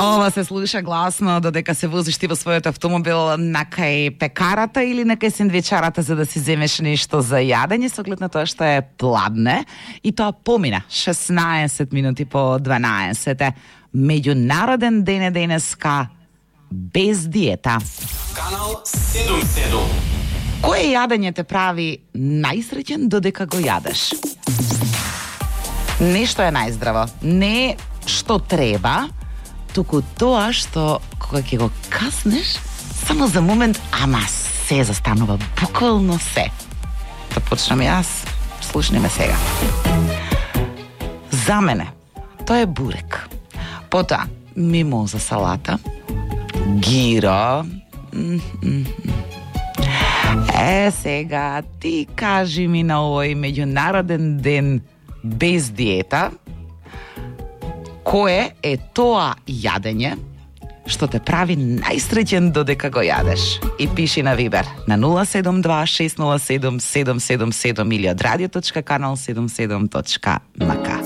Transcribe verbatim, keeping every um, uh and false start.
Ова се слуша гласно додека се возиш ти во својот автомобил на кај пекарата или на кај сендвичарата за да си земеш нешто за јадење, со оглед на тоа што е пладне. И тоа помина шеснаесет минути по дванаесет. Меѓународен ден е денеска без диета. Канал седум седум. Кое јадење те прави најсреќен додека го јадеш? Не што е најздраво, не што треба, туку тоа што кога ќе го каснеш, само за момент, ама се застанува, буквално се. Да почнам јас, слушни ме сега. За мене, тоа е бурек. Потоа, мимоза салата, гиро. Е, сега, ти кажи ми на овој меѓународен ден без диета, кое е тоа јадење што те прави најсреќен додека го јадеш? И пиши на Вибер на нула седум два шест нула седум седум седум седум или од радио точка канал седум седум точка ем ка.